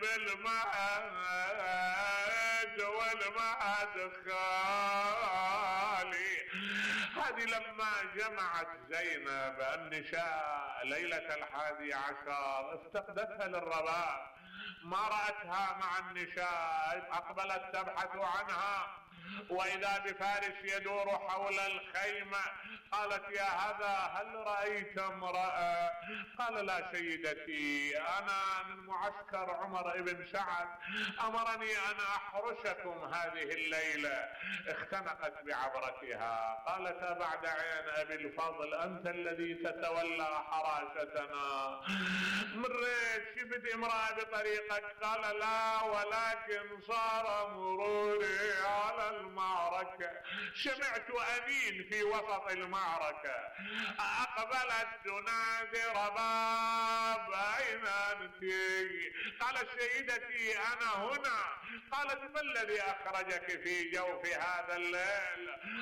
بالمهد والمهد خالي. هذه لما جمعت زينب النساء ليلة 11 افتقدتها للرباب، ما رأتها مع النساء، اقبلت تبحث عنها، واذا بفارس يدور حول الخيمة. قالت يا هذا هل رأيت امرأة؟ قال لا سيدتي، انا من معسكر عمر بن سعد، امرني ان احرسكم هذه الليلة. اختنقت بعبرتها، قالت بعد عين ابي الفضل انت الذي تتولى حراستنا، مريت شفت امرأة بطريقك؟ قال لا، ولكن صار مروري على المعركة، سمعت أمين في وسط المعركة، أقبلت تنادي رباب أين أنت؟ قالت سيدتي أنا هنا. قالت ما الذي أخرجك في جوف هذا الليل؟